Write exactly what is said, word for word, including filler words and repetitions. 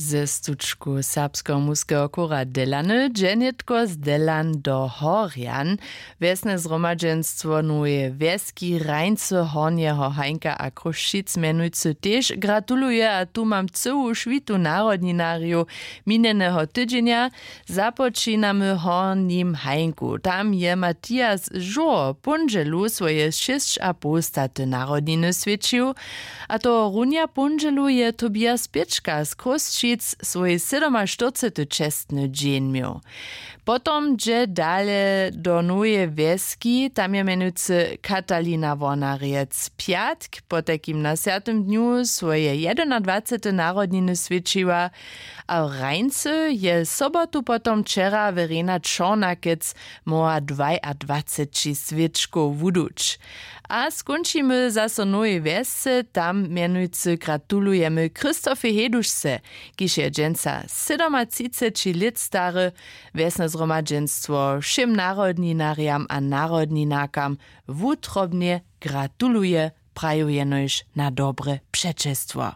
Ze stučku serbskeho muskeho chóra Delany dźe nětko z Delan do Horjan. Wjesne zhromadźenstwo noweje wjeski Hrańcy Hornjeho Hańka a Chrósćic mjenujcy tež gratuluje a tu mam cyłu šwitu narodninarjow minjeneho tydźenja. Započinamy w Hornim Hańku. Tam je Matias žoho póndźelu swoje šěsćapołstaty narodniny swjećił. A tohorunja póndźelu je Tobias Pěčka z Chrósćic swój sydomaštyrcety čestny dźeń měł. Potom dźe dale do noweje wjeski, tam je mjenujcy Katalina Wornarjec pjatk potajkim na swjatym dnju swoje jedynadwacete narodniny swjećiła. A w Hrańcy je sobotu potom wčera Verena Čornakec móhła dwajadwaceći swěčkow wuduć. A skónčimy zaso w nowej wjesce, tam mjenujcy gratulujemy Christofej Hedušce, kiž je dźensa sydomatřiceći lět stary. Wjesne zhromadźenstwo wšěm narodninarjam a narodninarkam wutrobnje gratuluje, praju jenož na dobre přećelstwo.